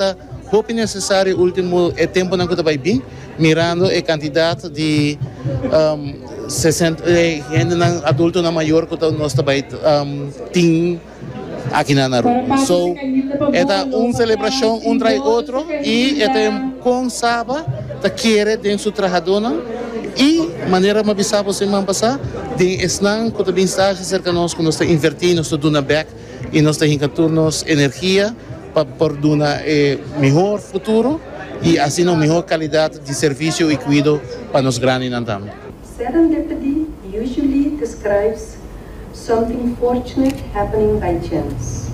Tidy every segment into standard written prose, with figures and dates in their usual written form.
Ta hopi necesario ultimo e temponan cu ta bay bin, mirando e cantidad di hendenan adultonan mayor cu nos ta bay tin aki na Aruba. So e ta un celebracion un tras otro y e ta con Saba ta kere den su trahadonan y manera mi a bisa bo siman pasa den esnan cu ta bin stage cerca nos cu nos ta inverti nos ta duna bek y nos ta hinca tur nos energia pa por duna e mihor futuro y asina un mihor calidad di servicio y cuido pa nos grandinan tambe. Serendipity usually describes something fortunate happening by chance.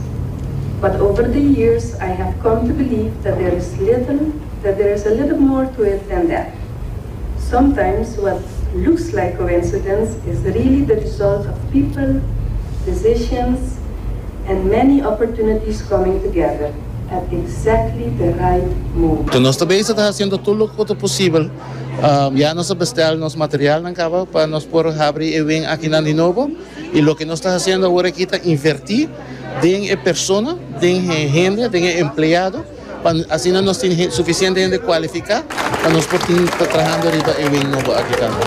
But over the years I have come to believe that there is little that there is a little more to it than that. Sometimes what looks like coincidence is really the result of people, decisions, and many opportunities coming together at exactly the right moment. Nos ta bezig ta haciendo tur loke ta posibel. Ya nos a bestel nos materialnan caba pa nos por habri e wing akinan di nobo. Y loke nos ta haciendo awor aki ta inverti den e persona, den e hende, den e empleado. Pa asina nos tin suficiente hende cualifica pa nos por tin ta trahando riba e wing nobo aki tambe.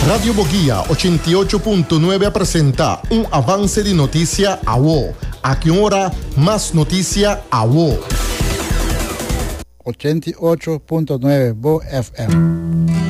Radio Boguia 88.9 a presenta un avance di noticia awo. Aki un ora, mas noticia awo. 88.9 Bo FM.